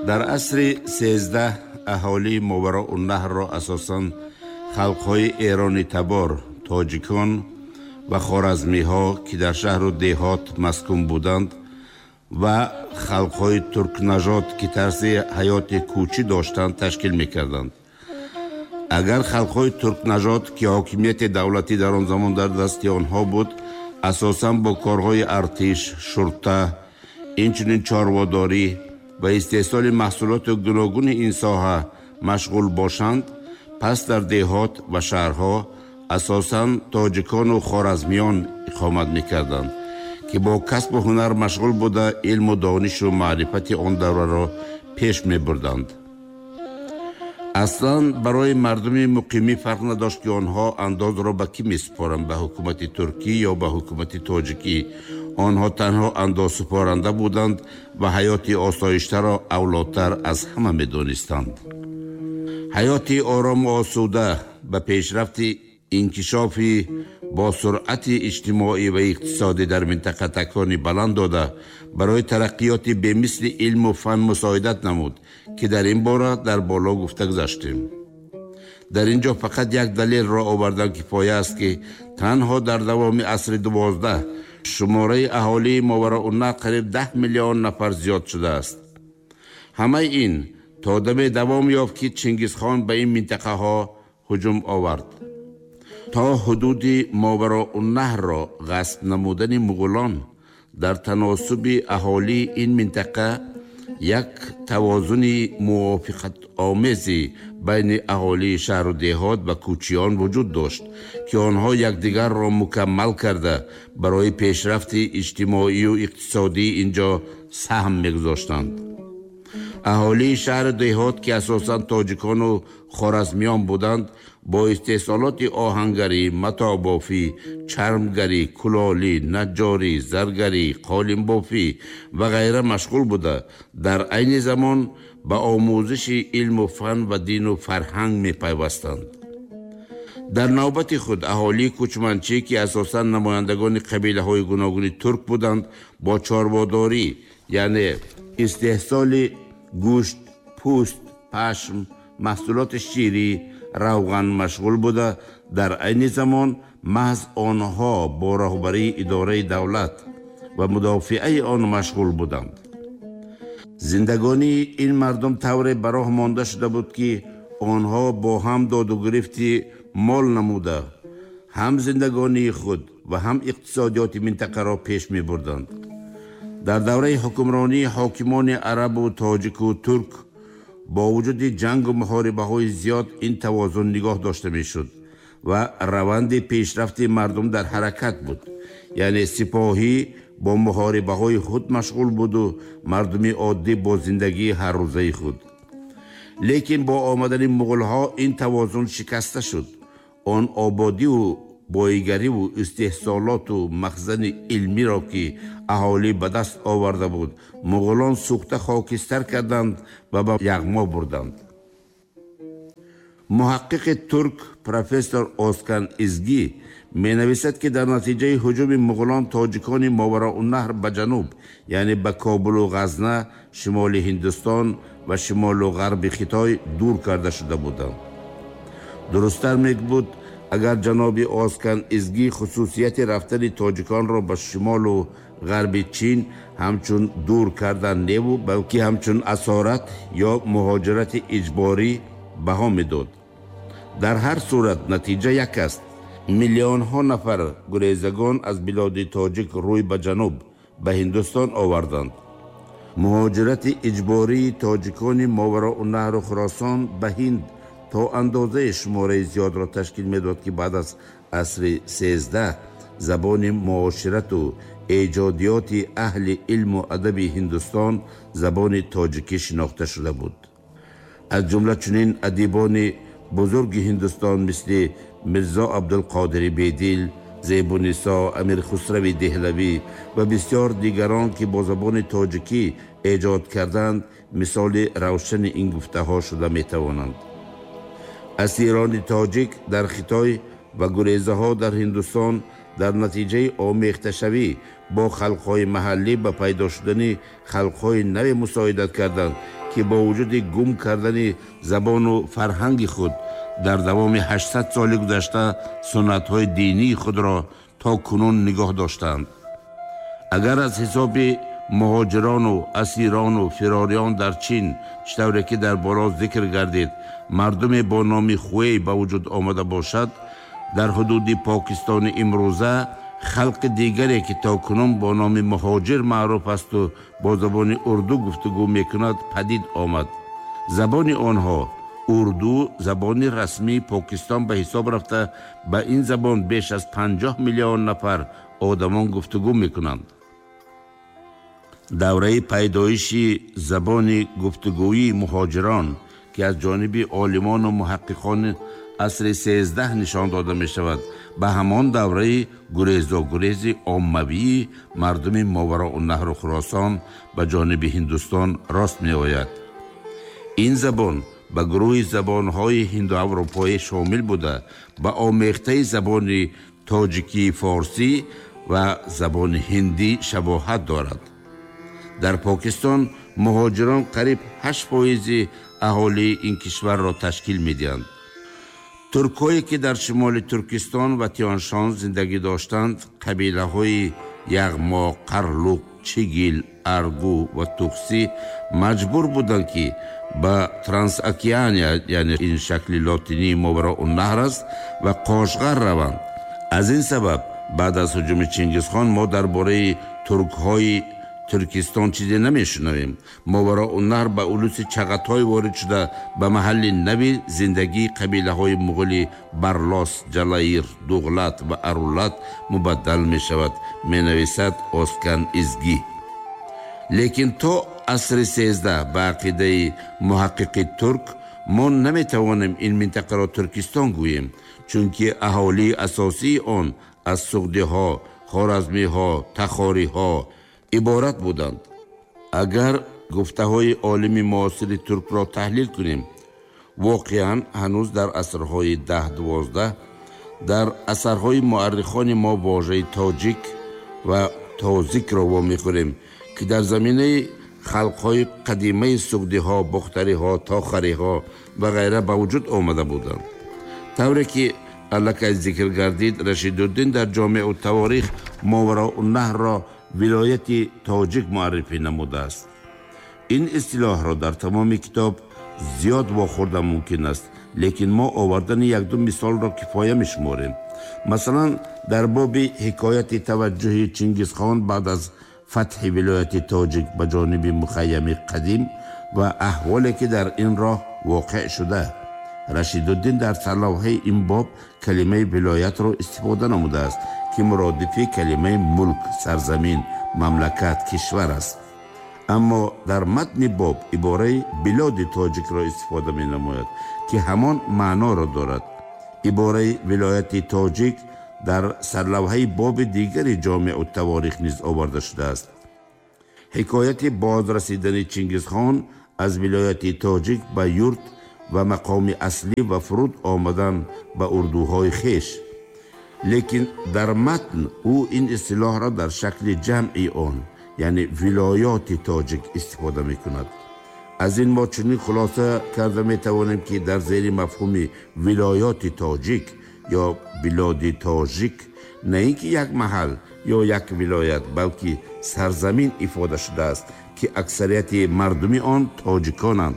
Дар асри 13 аҳолии Мовароуннаҳрро асосан халқҳои эронитабор, тоҷикон ва хоразмиҳо, ки дар шаҳру деҳот маскун буданд, ва халқҳои туркнажод, ки тарзи ҳаёти кӯчӣ доштанд, ташкил мекарданд. Агар халқҳои туркнажод, ки ҳокимияти давлатӣ дар он замон дар дасти онҳо буд, асосан бо корҳои артиш, шурта, инчунин чорводорӣ ва истеҳсоли маҳсулоти гуногуни ин соҳа машғул бошанд, пас дар деҳот ва шаҳрҳо асосан тоҷикону хоразмиён иқомат мекарданд, ки бо касбу ҳунар машғул буда, илму донишу маърифати он давраро пеш мебурданд. Аслан барои мардуми муқимӣ фарқ надошт, ки онҳо андозро ба кӣ месупоранд, ба ҳукумати туркӣ ё ба ҳукумати тоҷикӣ. Онҳо танҳо андозсупоранда буданд ва ҳаёти осоиштаро авлотар аз ҳама медонистанд. Ҳаёти орому осуда ба пешрафти инкишофи бо суръати иҷтимоӣ ва иқтисодӣ дар минтақа такони баланд дода, барои тараққиёти бемисли илму фан мусоидат намуд, ки дар ин бора дар боло гуфта гузаштем. Дар ин ҷо фақат як далелро овардан кифоя аст, ки танҳо дар давоми асри 12 шумораи аҳолии Мовароуннаҳр қариб 10 миллион нафар зиёд шудааст. Ҳамаи ин то даме давом ёфт, ки Чингизхон ба ин минтақаҳо ҳуҷум овард. То ҳудуди Мовароуннаҳрро ғасб намудани муғулон дар таносуби аҳолии ин минтақа як тавозуни мувофиқатомези байни аҳолии шаҳру деҳот ва кӯчиён вуҷуд дошт, ки онҳо якдигарро мукаммал карда, барои пешрафти иҷтимоию иқтисодии ин ҷо саҳм мегузоштанд. Аҳолии шаҳру деҳот, ки асосан тоҷикону хоразмиён буданд, бо истеҳсолоти оҳангарӣ, матобофӣ, чармгарӣ, кулолӣ, наҷҷорӣ, заргарӣ, қолинбофӣ ва ғайра машғул буда, дар айни замон ба омӯзиши илму фан ва дину фарҳанг мепайвастанд. Дар навбати худ аҳолии кӯчманчӣ, ки асосан намояндагони қабилаҳои гуногуни турк буданд, бо чорводорӣ, яъне истеҳсоли гӯшт, пӯст, пашм, маҳсулоти ширӣ, равған машғул буда, дар айни замон маҳз онҳо бо роҳбарии идораи давлат ва мудофиаи он машғул буданд. Зиндагонии ин мардум тавре ба роҳ монда шуда буд, ки онҳо бо ҳам доду гирифти мол намуда, ҳам зиндагонии худ ва ҳам иқтисодиёти минтақаро пеш мебурданд. Дар давраи ҳукмронии ҳокимони арабу тоҷику турк бо вуҷуди ҷангу муҳорибаҳои зиёд ин тавозун нигоҳ дошта мешуд ва раванди пешрафти мардум дар ҳаракат буд. Яъне сипоҳӣ бо муҳорибаҳои худ машғул буду мардуми оддӣ бо зиндагии ҳаррӯзаи худ. Лекин бо омадани муғулҳо ин тавозун шикаста шуд. Он ободиву боигариву истеҳсолоту махзани илмиро, ки аҳолӣ ба даст оварда буд, муғулон сӯхта хокистар карданд ва ба яғмо бурданд. Муҳаққиқи турк профессор Оскан Изгӣ менависад, ки дар натиҷаи ҳуҷуми муғулон тоҷикони Мовароуннаҳр ба ҷануб, яъне ба Кобулу Ғазна, шимоли Ҳиндустон ва шимолу ғарби Хитой дур карда шуда буданд. Дурусттар мебуд, агар ҷаноби Оскан Изгӣ хусусияти рафтани тоҷиконро ба шимолу ғарби Чин ҳамчун дур кардан неву, балки ҳамчун асорат ё муҳоҷирати иҷборӣ баҳо медод. Дар ҳар сурат натиҷа як аст. Миллионҳо нафар гурезагон аз билоди тоҷик рӯй ба ҷануб, ба Ҳиндустон оварданд. Муҳоҷирати иҷбории тоҷикони Мовароуннаҳру Хуросон ба Ҳинд то андозаи шумораи зиёдро ташкил медод, ки баъд аз асри 13 забони муоширату эҷодиёти аҳли илму адаби Ҳиндустон забони тоҷикӣ шинохта шуда буд. Аз ҷумла чунин адибони бузурги Ҳиндустон мисли Мирзо Абдулқодири Бедил, Зебунисо, Амирхусрави Деҳлавӣ ва бисёр дигарон, ки бо забони тоҷикӣ эҷод карданд, мисоли равшани ин гуфтаҳо шуда метавонанд. Асирони тоҷик дар Хитой ва гурезаҳо дар Ҳиндустон дар натиҷаи омехташавӣ бо халқҳои маҳаллӣ ба пайдо шудани халқҳои наве мусоидат карданд, ки бо вуҷуди гум кардани забону фарҳанги худ дар давоми 800 соли гузашта суннатҳои динии худро то кунун нигоҳ доштанд. Агар аз ҳисоби муҳоҷирону асирону фирориён дар Чин, чӣ тавре ки дар боло зикр гардид, мардуме бо номи Хуэй ба вуҷуд омада бошад, дар ҳудуди Покистони имрӯза халқи дигаре, ки то кунун бо номи муҳоҷир маъруф асту бо забони урду гуфтугӯ мекунад, падид омад. Забони онҳо урду забони расмии Покистон ба ҳисоб рафта, ба ин забон беш аз 50 миллион нафар одамон гуфтугӯ мекунанд. Давраи пайдоиши забони гуфтугӯии муҳоҷирон, ки аз ҷониби олимону муҳаққиқони асри 13 нишон дода мешавад, ба ҳамон давраи гурезогурези оммавии мардуми Мовароуннаҳру Хуросон ба ҷониби Ҳиндустон рост меояд. Ин забон ба гурӯҳи забонҳои ҳиндуаврупоӣ шомил буда, ба омехтаи забони тоҷикии форсӣ ва забони ҳиндӣ шабоҳат дорад. Дар Покистон муҳоҷирон қариб 8% аҳолии ин кишварро ташкил медиҳанд. Туркҳое, ки дар шимоли Туркистон ва Тиёншон зиндагӣ доштанд, қабилаҳои Яғмо, Қарлуқ, Чигил, Аргу ва Тухсӣ маҷбур буданд, ки ба Трансокеания, яъне ин шакли лотинии Мовароуннаҳр аст, ва Қошғар раванд. Аз ин сабаб баъд аз ҳуҷуми Чингизхон мо дар бораи туркҳои Туркистон чизе намешунавем. Мовароуннаҳр ба улуси Чағатой ворид шуда, ба маҳалли нави зиндагии қабилаҳои муғули Барлос, Ҷалаир, Дуғлат ва Арулат мубаддал мешавад, менависад Оскан Изгӣ. Лекин то асри 13 ба ақидаи муҳаққиқи турк мо наметавонем ин минтақаро Туркистон гӯем, чунки аҳолии асосии он аз суғдиҳо, хоразмиҳо, тахориҳо иборат буданд. Агар гуфтаҳои олими муосири туркро таҳлил кунем, воқеан ҳанӯз дар асрҳои 10-12 дар асарҳои муаррихони мо вожаи тоҷик ва тозикро вомехӯрем, ки дар заминаи халқҳои қадимаи суғдиҳо, бохтариҳо, тохариҳо ва ғайра ба вуҷуд омада буданд. Тавре ки аллакай зикр гардид, Рашидуддин дар Ҷомеъу таворих Мовароуннаҳрро вилояти тоҷик муаррифӣ намудааст. Ин истилоҳро дар тамоми китоб зиёд вохӯрда мумкин аст, лекин мо овардани якду мисолро кифоя мешуморем. Масалан, дар боби ҳикояти таваҷҷӯҳи Чингизхон баъд аз фатҳи вилояти тоҷик ба ҷониби мухайями қадим ва аҳволе, ки дар ин роҳ воқеъ шуда, Рашидуддин дар сарлавҳаи ин боб калимаи вилоятро истифода намудааст, ки муродифи калимаи мулк, сарзамин, мамлакат, кишвар аст. Аммо дар матни боб ибораи билоди тоҷикро истифода менамояд, ки ҳамон маъноро дорад. Ибораи вилояти тоҷик дар сарлавҳаи боби дигари Ҷомеъу таворих низ оварда шудааст. Ҳикояти бозрасидани Чингизхон аз вилояти тоҷик ба юрт ва мақоми аслӣ ва фуруд омадан ба урдуҳои хеш. Лекин дар матн ӯ ин истилоҳро дар шакли ҷамъи он, яъне вилоёти тоҷик, истифода мекунад. Аз ин мо чунин хулоса карда метавонем, ки дар зери мафҳуми вилоёти тоҷик ё билоди тоҷик на ин ки як маҳал ё як вилоят, балки сарзамин ифода шудааст, ки аксарияти мардуми он тоҷиконанд.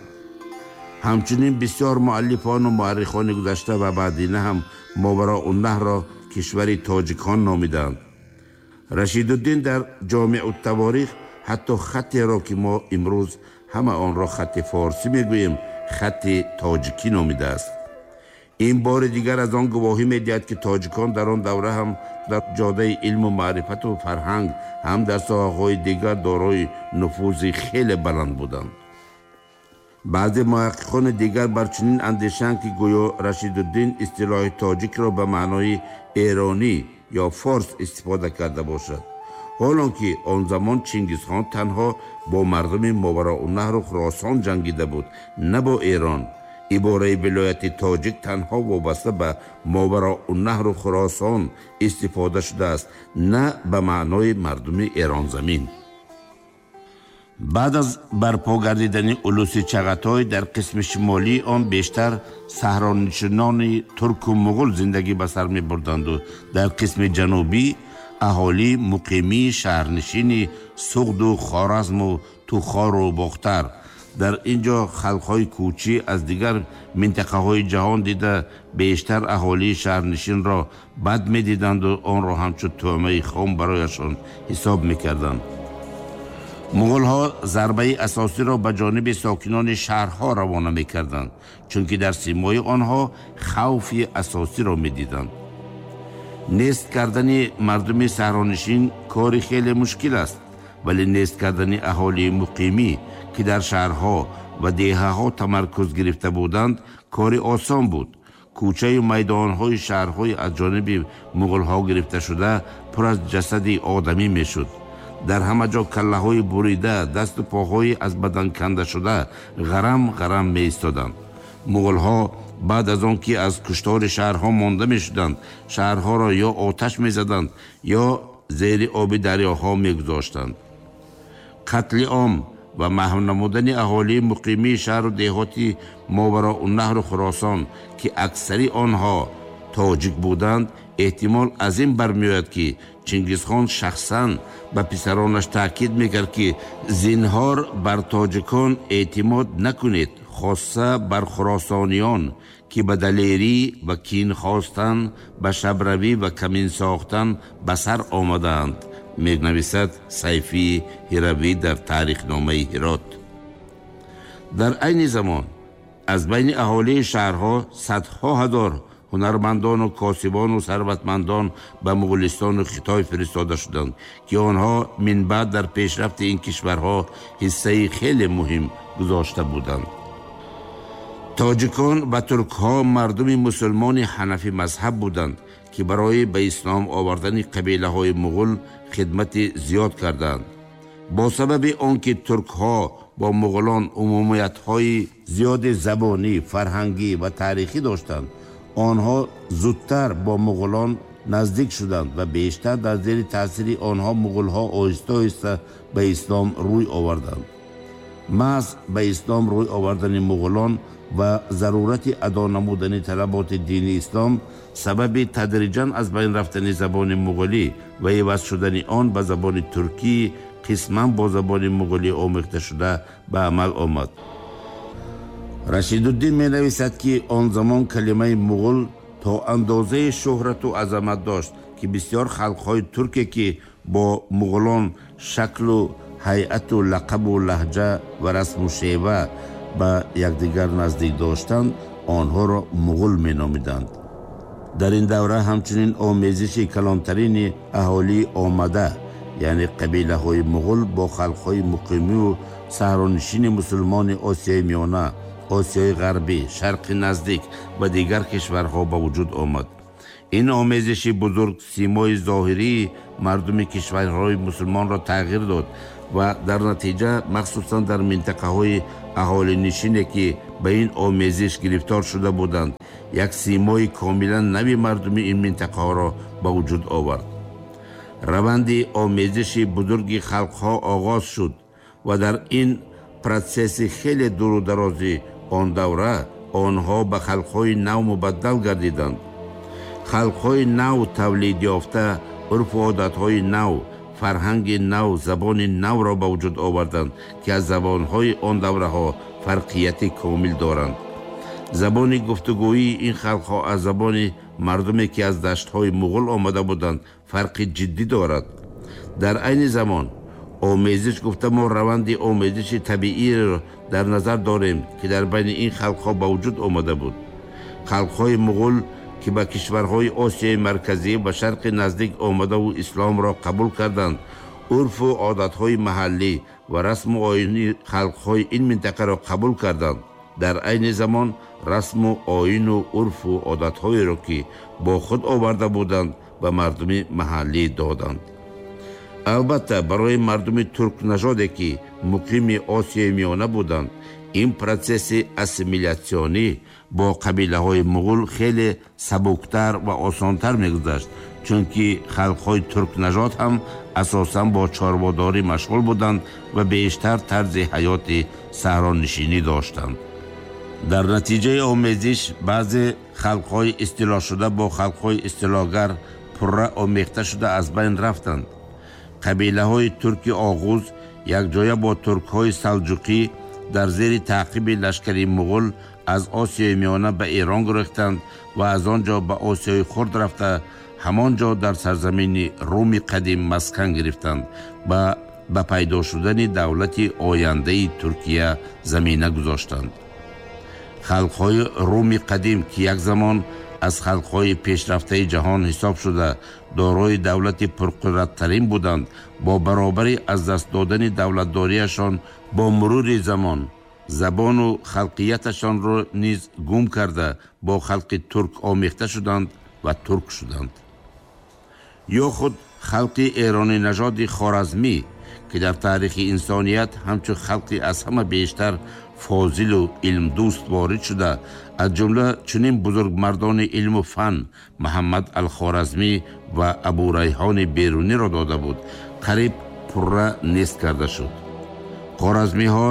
Ҳамчунин бисёр муаллифону муаррихони гузашта ва баъдина ҳам Мовароуннаҳрро кишвари тоҷикон номиданд. Рашидуддин дар Ҷомеъу таворих ҳатто хаттеро, ки мо имрӯз ҳама онро хатти форсӣ мегӯем, хатти тоҷикӣ номидааст. Ин бори дигар аз он гувоҳӣ медиҳад, ки тоҷикон дар он давра ҳам дар ҷодаи илму маърифату фарҳанг, ҳам дар соҳаҳои дигар дорои нуфузи хеле баланд буданд. Баъзе муҳаққиқони дигар бар чунин андешаанд, ки гӯё Рашидуддин истилоҳи тоҷикро ба маънои эронӣ ё форс истифода карда бошад, ҳолон ки он замон Чингизхон танҳо бо мардуми Мовароуннаҳру Хуросон ҷангида буд, на бо Эрон. Ибораи вилояти тоҷик танҳо вобаста ба Мовароуннаҳру Хуросон истифода шудааст, на ба маънои мардуми эронзамин. Баъд аз барпо гардидани улуси Чағатой дар қисми шимолии он бештар саҳронишинони турку муғул зиндагӣ ба сар мебурданду дар қисми ҷанубӣ аҳолии муқимии шаҳрнишини Суғду Хоразму Тухору Бохтар. Дар ин ҷо халқҳои кӯчӣ аз дигар минтақаҳои ҷаҳон дида бештар аҳолии шаҳрнишинро бад медиданду онро ҳамчун тӯъмаи хом барояшон ҳисоб мекарданд. Муғулҳо зарбаи асосиро ба ҷониби сокинони шаҳрҳо равона мекарданд, чунки дар симои онҳо хавфи асосиро медиданд. Нест кардани мардуми саҳронишин кори хеле мушкил аст, вале нест кардани аҳолии муқимӣ, ки дар шаҳрҳо ва деҳаҳо тамаркуз гирифта буданд, кори осон буд. Кӯчаю майдонҳои шаҳрҳои аз ҷониби муғулҳо гирифташуда пур аз ҷасади одамӣ мешуд. Дар ҳама ҷо каллаҳои бурида, дасту поҳои аз бадан кандашуда ғарам ғарам меистоданд. Муғулҳо баъд аз он ки аз куштори шаҳрҳо монда мешуданд, шаҳрҳоро ё оташ мезаданд, ё зери оби дарёҳо мегузоштанд. Қатли ом ва маҳв намудани аҳолии муқимии шаҳру деҳоти Мовароуннаҳру Хуросон, ки аксари онҳо тоҷик буданд, эҳтимол аз ин бармеояд, ки Чингизхон шахсан ба писаронаш таъкид мекард, ки зинҳор бар тоҷикон эътимод накунед, хосса бар хуросониён, ки ба далерӣ ва кин хостан, ба шабравӣ ва камин сохтан ба сар омадаанд, менависад Сайфии Ҳиравӣ дар таърихномаи Ҳирот. Дар айни замон аз байни аҳолии шаҳрҳо садҳо ҳазор ҳунармандону косибону сарватмандон ба Муғулистону Хитой фиристода шуданд, ки онҳо минбаъд дар пешрафти ин кишварҳо ҳиссаи хеле муҳим гузошта буданд. Тоҷикон ва туркҳо мардуми мусулмони ҳанафӣ мазҳаб буданд, ки барои ба ислом овардани қабилаҳои муғул хидмати зиёд карданд. Бо сабаби он ки туркҳо бо муғулон умумиятҳои зиёди забонӣ, фарҳангӣ ва таърихӣ доштанд, онҳо зудтар бо муғулон наздик шуданд ва бештар дар зери таъсири онҳо муғулҳо оҳиста-оҳиста ба ислом рӯй оварданд. Маҳз ба ислом рӯй овардани муғулон ва зарурати адо намудани талаботи дини ислом сабаби тадриҷан аз байн рафтани забони муғулӣ ва иваз шудани он ба забони туркӣ қисман бо забони муғулӣ омехта шуда ба амал омад. Рашидуддин менависад, ки он замон калимаи муғул то андозаи шӯҳрату азамат дошт, ки бисёр халқҳои турке, ки бо муғулон шаклу ҳайату лақабу лаҳҷа ва расму шева ба якдигар наздик доштанд, онҳоро муғул меномиданд. Дар ин давра ҳамчунин омезиши калонтарини аҳолии омада, яъне қабилаҳои муғул бо халқҳои муқимию саҳронишини мусулмони Осиёи Миёна, Осиёи Ғарбӣ, Шарқи Наздик ва дигар кишварҳо ба вуҷуд омад. Ин омезиши бузург симои зоҳирии мардуми кишварҳои мусулмонро тағйир дод ва дар натиҷа махсусан дар минтақаҳои аҳолинишине, ки ба ин омезиш гирифтор шуда буданд, як симои комилан нави мардуми ин минтақаҳоро ба вуҷуд овард. Раванди омезиши бузурги халқҳо оғоз шуд ва дар ин протсесси хеле дуру дарози он давра онҳо ба халқҳои нав мубаддал гардиданд. Халқҳои нав тавлид ёфта урфу одатҳои нав, фарҳанги нав, забони навро ба вуҷуд оварданд, ки аз забонҳои он давраҳо фарқияти комил доранд. Забони гуфтугӯии ин халқҳо аз забони мардуме, ки аз даштҳои муғул омада буданд, фарқи ҷиддӣ дорад. Дар айни замон омезиш гуфта мо раванди омезиши табииро дар назар дорем, ки дар байни ин халқҳо ба вуҷуд омада буд. Халқҳои муғул, ки ба кишварҳои Осиёи Марказӣ ва Шарқи Наздик омадаву исломро қабул карданд, урфу одатҳои маҳаллӣ ва расму оини халқҳои ин минтақаро қабул карданд. Дар айни замон расму оину урфу одатҳоеро, ки бо худ оварда буданд, ба мардуми маҳаллӣ доданд. Албатта, барои мардуми туркнажоде, ки муқими Осиёи Миёна буданд, ин протсесси ассимилятсионӣ бо қабилаҳои муғул хеле сабуктар ва осонтар мегузашт, Чунки халқҳои туркнажод ҳам асосан бо чорводорӣ машғул буданд ва бештар тарзи ҳаёти саҳронишинӣ доштанд. Дар натиҷаи омезиш баъзе халқҳои истилошуда бо халқҳои истилогар пурра омехта шуда аз байн рафтанд. Қабилаҳои турки оғуз якҷоя бо туркҳои салҷуқӣ дар зери таъқиби лашкари муғул аз Осиёи Миёна ба Эрон гурехтанд ва аз он ҷо ба Осиёи Хурд рафта, ҳамон ҷо дар сарзамини Руми қадим маскан гирифтанд ва ба пайдо шудани давлати ояндаи Туркия замина гузоштанд. Халқҳои Руми қадим, ки як замон аз халқҳои пешрафтаи ҷаҳон ҳисоб шуда, дорои давлати пурқудраттарин буданд, бо баробари аз даст додани давлатдориашон бо мурури замон забону халқияташонро низ гум карда, бо халқи турк омехта шуданд ва турк шуданд. Ё худ халқи эронинажоди хоразмӣ, ки дар таърихи инсоният ҳамчун халқи аз ҳама бештар фозилу илмдӯст ворид шуда, аз ҷумла чунин бузургмардони илму фан Муҳаммад Алхоразмӣ ва Абурайҳони Беруниро дода буд, қариб пурра нест карда шуд. Хоразмиҳо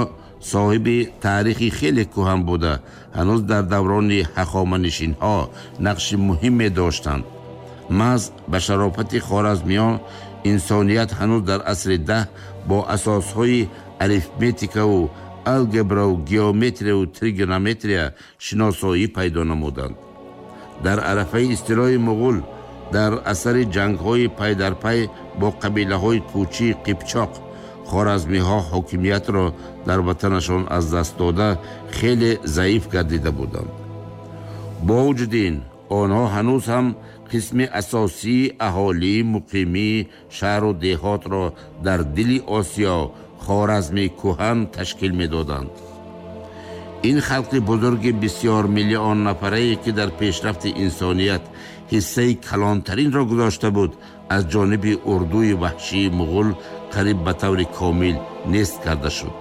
соҳиби таърихи хеле кӯҳан буда, ҳанӯз дар даврони ҳахоманишинҳо нақши муҳиме доштанд. Маҳз ба шарофати хоразмиён инсоният ҳанӯз дар асри 10 бо асосҳои арифметикаву алгебраву геометрияву тригонометрия шиносоӣ пайдо намуданд. Дар арафаи истилои муғул, дар асари ҷангҳои пайдарпай бо қабилаҳои кӯчии қипчоқ, хоразмиҳо ҳокимиятро дар ватанашон аз даст дода, хеле заиф гардида буданд. Бо вуҷуди ин, онҳо ҳанӯз ҳам қисми асосии аҳолии муқимии шаҳру деҳотро дар дили Осиё, Хоразми кӯҳан, ташкил медоданд. Ин халқи бузурги бисёр миллион нафарае, ки дар пешрафти инсоният ҳиссаи калонтаринро гузошта буд, аз ҷониби урдуи ваҳшии муғул қариб ба таври комил нест карда шуд.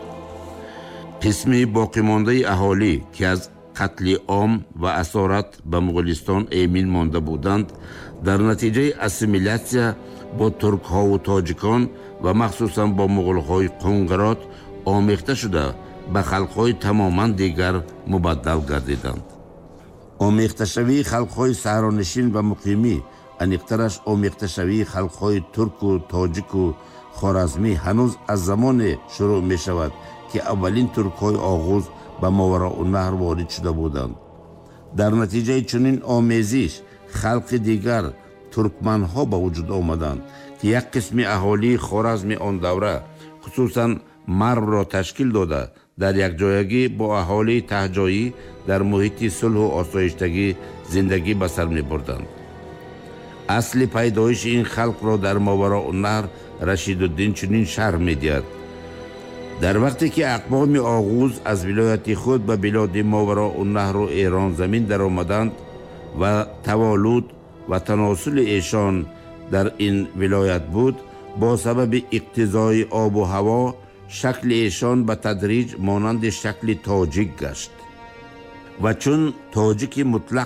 Қисми боқимондаи аҳолӣ, ки аз қатли ом ва асорат ба Муғулистон эмин монда буданд, дар натиҷаи ассимилятсия бо туркҳову тоҷикон ва махсусан бо муғулҳои қунгирот омехта шуда, ба халқҳои тамоман дигар мубаддал гардиданд. Омехташавии халқҳои саҳронишин ва муқимӣ, аниқтараш омехташавии халқҳои турку тоҷику хоразмӣ, ҳанӯз аз замоне шурӯъ мешавад, ки аввалин туркҳои оғуз ба Мовароуннаҳр ворид шуда буданд. Дар натиҷаи чунин омезиш халқи дигар, туркманҳо, ба вуҷуд омаданд, ки як қисми аҳолии Хоразми он давра, хусусан Марвро ташкил дода, дар якҷоягӣ бо аҳолии таҳҷоӣ дар муҳити сулҳу осоиштагӣ зиндагӣ ба сар мебурданд. Асли пайдоиши ин халқро дар Мовароуннаҳр Рашидуддин чунин шарҳ медиҳад: дар вақте ки ақвоми оғуз аз вилояти худ ба билоди Мовароуннаҳру Эрон замин даромаданд ва таваллуд ва таносули эшон дар ин вилоят буд, бо сабаби иқтизои обу ҳаво шакли эшон ба тадриҷ монанди шакли тоҷик гашт ва чун тоҷики мутлақ